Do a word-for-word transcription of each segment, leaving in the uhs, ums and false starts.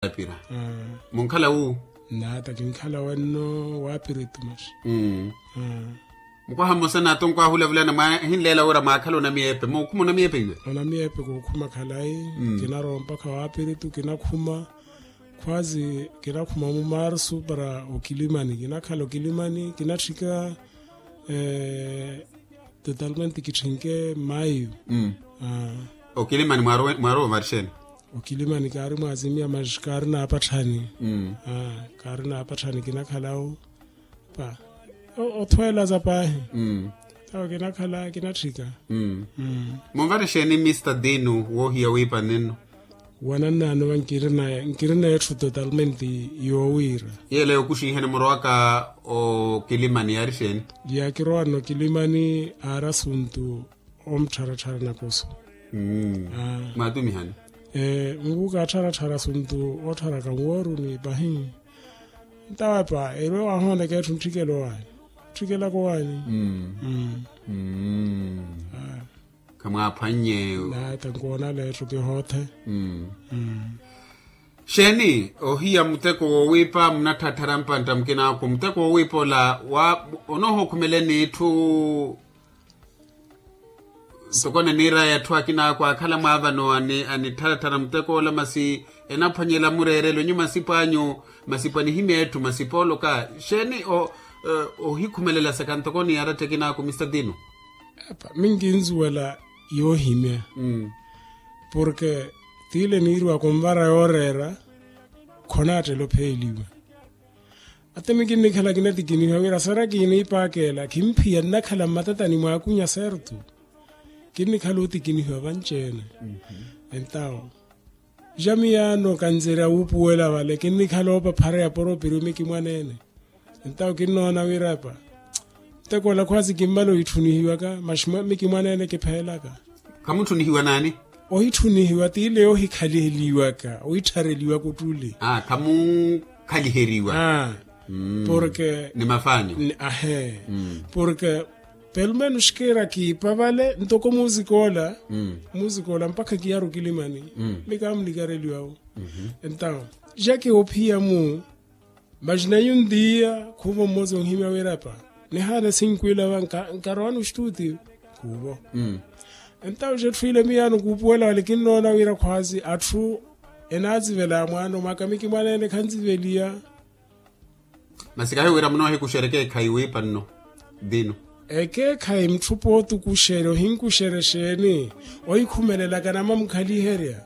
Apira. Munkhala wu? Naata kinkhala wenno waapiritu maxi. Mukwaha mmosa naato nkwahulavulana mwahinleela wira mwaakhala onamiyeepe mookhuma onamiyeepe iwe? Onamiyeepe kookhuma khalayi. Kinarowa mpakha waapiritu kinakhuma. Khwazi kinakhuma mumarsu para okilimani kinakhala okilimani kinatthika. Totalmente kitthinke mayu. Okilimani mwarowa ovarixeni? Okilimani kaari mwazimiya maxi kaari naapatthani. Kaari naapatthani kinakhalawo pa othweelaza paahi. Tawo kinakhala kinatthika. Munvarixeni mista dinu woohiya wiipa nenno? Wanannaano va nkirina etthu totalmente yoowiira. Yeela yookuxinhani murowaka okilimani yaari xeeni? Yaakirowanna okilimani aari asuntu omuttharattharana kusu. Mwaatumihani? Nkuuka attharatthara asuntu otthara kanwooruni pahi. Ntawepa erwe wahooneka etthu ntthikela owaani. Ntthikela kowaani. Khamwaaphwannye. Naata nkoonala etthu kihoothe. Xeeni ohiya muteko woowiipa munatthatthara mpantta mukinaaku muteko woowiipa ola onoohookhumeleni itthu? Ntoko naniiraya atthu akinaaku aakhala mwaavano anittharatthara muteko ola masi enaphwanyela mureerelo nyu masipo anyu masipo anihimya etthu masipo oloka xeeni ohikhumelela saka ntoko ni aratta ekinaaku mista dinu? Minkinzuwela yoohimya. Porke t'ile niiriwaka onvara yooreera khonaattela opheeliwa. Ate mikinnikhala kinatikinihiwa wira sara kiiniipaakeela khimphiya nnakhala mmatatani mwaakunya sertu. Kinnikhala otikinihiwa vanci-ene. Entawo ja miyaano kanzerya wuupuwela vale kinnikhala oopaphareya poropiriyo mikimwaneene. Entawo kinnoona wira epa nteko ola khwaasi kimmala ohittunihiwaka maxi mikimwaneene kipheelaka. Khamunttunihiwa naani? Ohittunihiwa t'ile yoohikhaliheliwaka ohitthareliwaka ottuli. Khamukhaliheriwa. Porke ni mafaanyu. Ahee. Porke pelo menos kiira kiipa vale ntoko musik'ola. Musik'ola mpakha kiyaari okilimani. Ni kaamunikareliwawo. Entawo ja kiwoophiya-mu. Maxi nayu ntiya khuuvo mmosa onhimya wira epa nihaana sinkwila va nkarowani ostuti. Khuuvo. Entawo ja etthu ile miyaano kuupuwela vale kinnoona wira khwaasi atthu enaatsivelaya mwaano mwaka mikimwaneene khantsiveliya. Masi kahi wira munoohikuxerya ekeekhayi wiipa nno dinu? Ekeekhayi mutthu pootukuxerya ohinkuxerya exeeni ohikhumelelaka namamkhaliherya.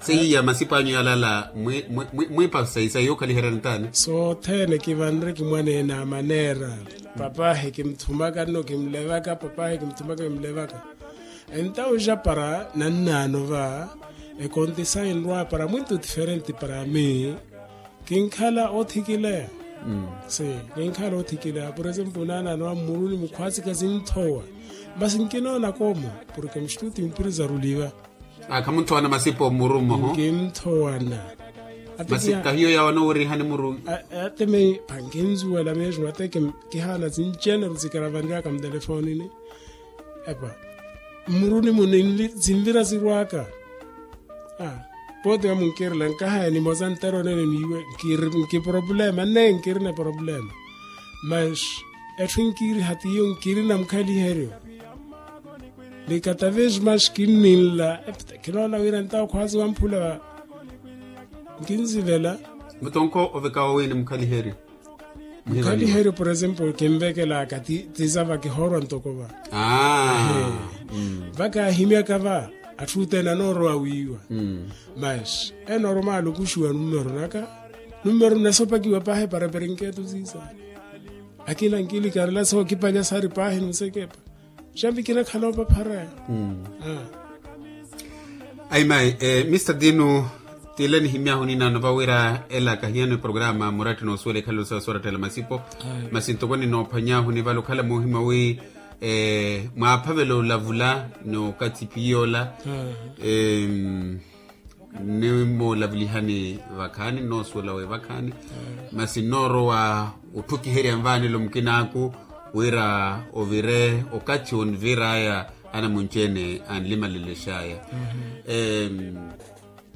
Seiya masipo anyu yalala mwiipa sayi sayi yookhaliherya ntaani? Sothene kivanre kimwaneene amaneera. Papaahi kimuthumaka nno kimulevaka papaahi kimuthumaka kimulevaka. Entawo ja para nannaano va ekontisayi nrwa para mwintu diferenti para ami. Kinkhala othikileya. Si kinkhala othikileya por exemplo naanaano wa mmuruni mukhwaasi khasinthowa. Masi nkinoona koomo porke muxituti mpiri zaruliva. Khamunthowana masipo mmuru mmoho. Nkinthowana. Masi kahiyo yawo anoowirihani muru. Ate meyi phankinzuwela mesmo ate kihaana sinci-ene sikaravanryaka mutelefonini. Epa mmuruni muni sinvira sirwaka. Pooti wa munkirela nkahaya nimosa ntere onene niiwe. Nkiproplema nne nkirina eproplema. Mas etthu nkiiriha t'iyo nkirina mukhaliheryo. Ni katavesi mas kinninla. Kinoona wira ntawo khwaasi wamphula. Nkinsivela. Mutonko ovekawo wiini mukhaliheryo? Mukhaliheryo por example kinvekelaka ti sava kihoorwa ntoko va. Vakaahimyaka va atthu othene anoorowa wiiwa. Mas enormal okuxiwa numero naka. Numero nasopakiwa paahi eparepere nketo siisa. Akina nkilikarela sookipalya sari paahi nusekepa. Xambi kinakhala opapharaya. Ayi mayi. Mista dinu, t'ile nihimy'ahu ninaano vawira ela kahiyano eprograma muratti noosuwela ekhalelo sawe soorattela masipo. Masi ntoko ninoophwany'ahu nivale okhala moohimya wi mwaaphavela olavula n'okathi piy'ola. Nimoolavulihani vakhaani nnoosuwela wi vakhaani. Masi nnoorowa otthukiherya nvaanelo mukinaaku wira ovire okathi onvir'aya anamunci-ene anlimalelex'aya.